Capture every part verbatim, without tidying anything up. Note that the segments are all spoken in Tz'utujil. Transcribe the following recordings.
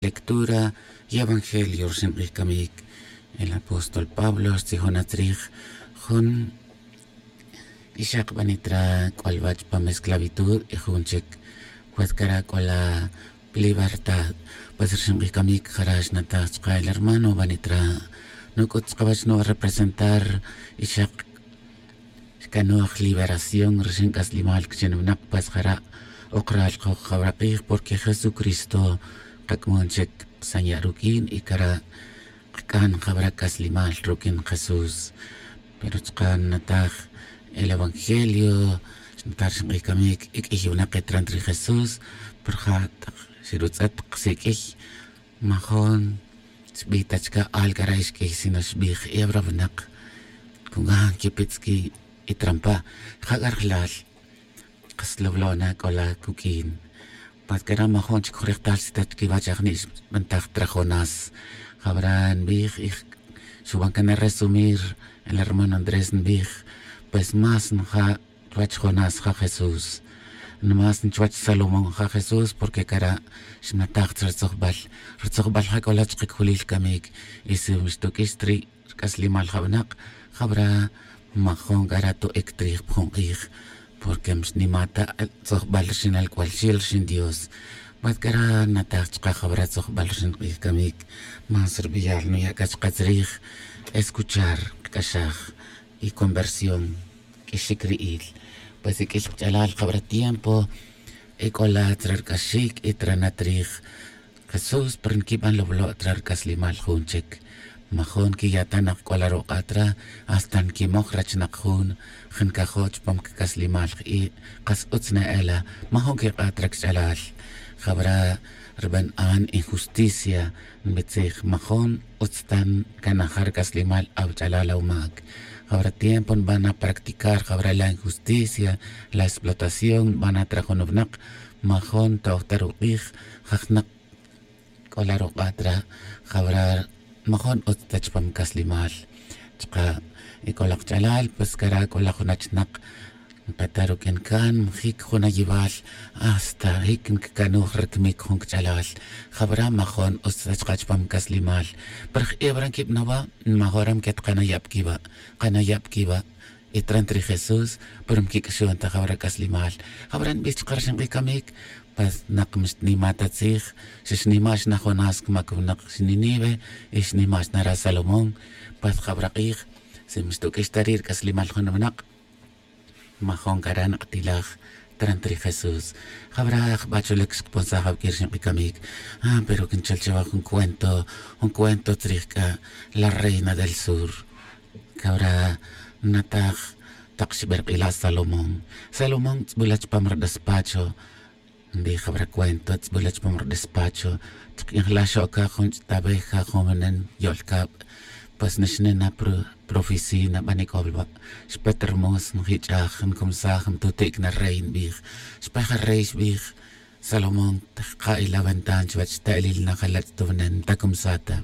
Lectura y evangelio rxin k'ij camic. El apóstol pablo xtzijona tzrij jun ixak banitra c'olwa' chpam esclavitud y jun chic pues cara c'ola libertad. Pues rxin k'ij camic jara' xnataj chka el hermano banitra nuc'ut chkawech nuba representar ixak xcanoj liberación rixin c'aslimal chin winak. Pues jara' ok ral koj jawra k'ij porque jesucristo kac'amon chic sanya' ruq'uin y cara' kac'an jawra c'aslimal ruq'uin jesús. Pero chka nnataj el evangelio xnataj rixin k'ij camic y q'uiy winak ketran ri jesús. Pero ja' tak xirutz'et kasiq'uiy majon xbi ta chka al cara' ixq'uiy sino xbij hebra winak. Con gajan quipitz' qui' y trampa ja' c'arjlal kas lawlo' na c'ola cuq'uin. Pues cara' majon chic jurejtal xtz'et chiquiwach ajni' xbantaj tra jonás. Jawra nbij y xuban can resumir el hermano andrés nbij pues más nja' chuwech jonás ja' jesús. Más nchuwech salomón ja' jesús porque cara' xnataj chre ritzojbal. Ritzojbal ja' c'ola chkacujulil camic y si xtuq'uix ta ri' rc'aslimal ja' winak jawra majon cara' to'ic trij pa jun k'ij. Porque mxnima ta tzojbal rixinal c'ual xil rixin dios. Pues cara' nataj chka jawra tzojbal rixin k'ij camic más ri beyal nuya' c'a chka tzrij escuchar kac'axaj y conversión. Q'uixic ri'il pues iq'uiy kach'alal jawra tiempo. Y c'ola tra rc'axic y tra na trij jesús pero nquiban lawlo' tra rc'aslimal jun chic. Majon quiyatanak c'ola ruk'a' tra hasta nquimoj rachinak jun. Jancajo' chupam cac'aslimal i' kas utz na ela. Majon quik'a' tra kach'alal jawra riban an injusticia. Nbitzij majon utz ta ncanaja' rc'aslimal awach'alal awmac. Jawra tiempo nban na practicar jawra la injusticia la explotación nban na tra jun winak. Majon toj ta ruk'ij jajnak c'ola ruk'a' tra jawra majon utz ta chupam c'aslimal. Chka' y c'ola kach'alal pues cara' c'ola jun achnak npeta ruq'uin can njic jun ayibal hasta jic ncacanoj ricmic jun cach'alal. Jawra majon utz ta chka chupam c'aslimal. Pero jebra nquibanowa nmajora nquet kanaya' pa quiwa' kanaya' pa quiwa'. Y tra ntrij jesús pero nquic'axon ta jawra c'aslimal. Jawra nbij chka rixin k'ij camic pues nak mixtnima ta tzij. Xixnima xna jonás camac winak xninive y xnima xna ra salomón. Pues jawra k'ij si mixtuq'uix ta ri' rc'aslimal jun winak. Majon cara' nktilaj tra ntrij jesús. Jawra jba chulec xkponsaj awq'uir xink'icamic. Pero quinchol chawa jun cuento jun cuento tzrij c'a la reina del sur. Cawra nataj tak xberk'ila' salomón. Salomón tz'bula chupam ri despacho. Nbij jawra cuento tz'bula chupam ri despacho. Chk'injla xo'ca jun ch'taweja jun wenen yo'lcab. Pues nixne na pi oficina banic'ol wa'. Xpet ri mos njich'aj ncumsaj ntutic na rey nbij. Xpej ri rey xbij salomón. Jka' ila ventan chuwech ta elil na jala' ch'tuwnen ntacumsaj ta.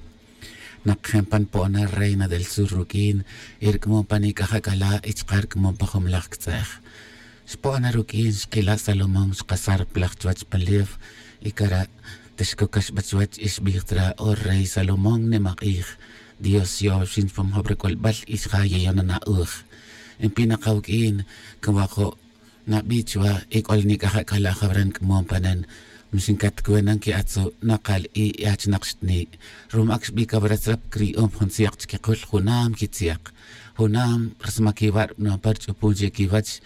Nakjen pan po'on na reina del sur ruq'uin. Y rc'amon pan ic'aj ac'ala' y chka' rc'amon pa jun melaj ctz'ej. Xpo'on na ruq'uin xkila' salomón xkasar plaj chuwech pan lew. Y cara' tixcocax ba chuwech y xbij tzra o rey salomón nimak'ij. Dios xyo'ow xin chupam jab rac'ulbal y xja' yeyon na na'uj. Npi na kawuq'uin. Cawajo' nabi chuwa y c'ol nic'aj ac'ala' jawra nc'amon panen. Mixin catcuenan qui'atzu' nakal i' y achnak xtni'. Rumac xbi cawra tzra pa cri'om jun tziak chiquikul junam quitziak. Junam rsmac iwa' rbanon pa rich'upun chic iwech.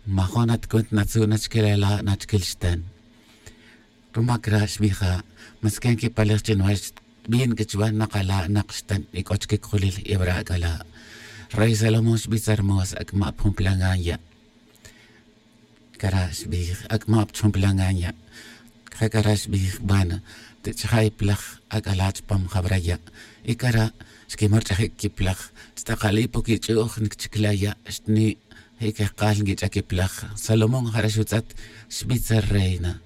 Majon atcuent natzu' nachquil ala' nachquil xten. Rumac ra' xbija' masquen quipalej chi nwech. Bin c'a chuwa nakala' nak xten y c'o chiquicujulil y wara' ac'ala'. Rey salomón xbitz armos ac'ma' pa jun plan gan ya'. Cara' xbij ac'ma' pa chujun plan gan ya'. Jacara' xbij bana tich'ja' iplaj ac'ala' chupam jawara' ya'. Y cara' xquimorch'aji' quiplaj. Chtakali' poc ich'u'j nicchicla' ya' xtni'. Jic jekal nquich'a' quiplaj salomón jara' xutz'et. Xbitz reina.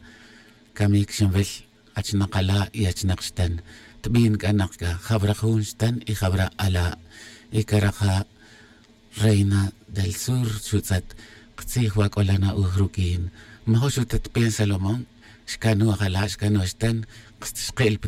Camic xinwil achnak ala' y achnak xten. Tbin c'a nak c'a jawra jun xten y jawra ala'. Y cara' ja' reina del sur xutz'et. Ktzij wa c'ola na'uj ruq'uin. Majo' xutet pen salomón. Xcanoj ala' xcanoj xten. Xke'el pa